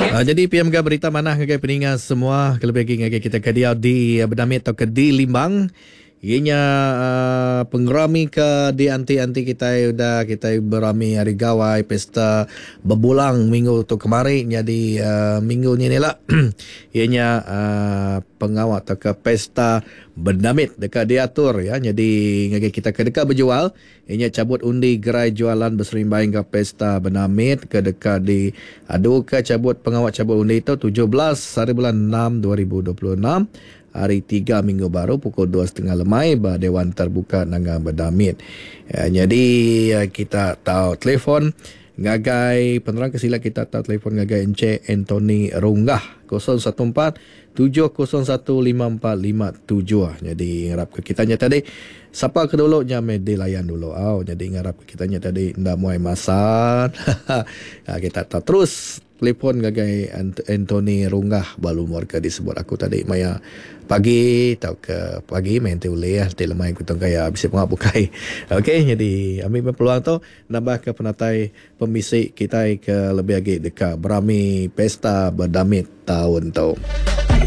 Jadi pia mega berita manah ngagai peninga semua kelebih agi ngagai kita ke diau di Bedamit tauka di Limbang. Iya nya pengerami ke dianti-anti kitai udah kitai berami hari gawai pesta bebulang minggu tu kemari nyadi minggu nyin ila iya nya pengawa tauka pesta Bedamit deka diatur ya nyadi ngagai kita ke deka bejual iya nya chabut undi gerai jualan beserimbai enggau pesta Bedamit ke deka diaduka chabut pengawa chabut undi tu 17 hari bulan 6 2026 hari tiga minggu baru pukul dua setengah lemai ba Dewan Terbuka Nanga Bedamit. Nyadi kita tau telefon ngagai penerang ke sila kita tau telefon ngagai Encik Anthony Runggah 014 701 5457. Nyadi ngarap ke kita nya tadi sapa ke dulu nya meh dilayan dulu au. Nyadi ngarap ke kita nya tadi enda muai masa. Kita tau terus telefon ngagai Anthony Runggah ba lumur ke disebut aku tadi maya pagi tauka pagi meh enti ulih enti lemai ku tungkai iya bisi pengawa bukai. Okey nyadi ambi meh peluang tu nambahka penatai pemisi kitai ke lebih agi deka berami pesta bedamit taun tu.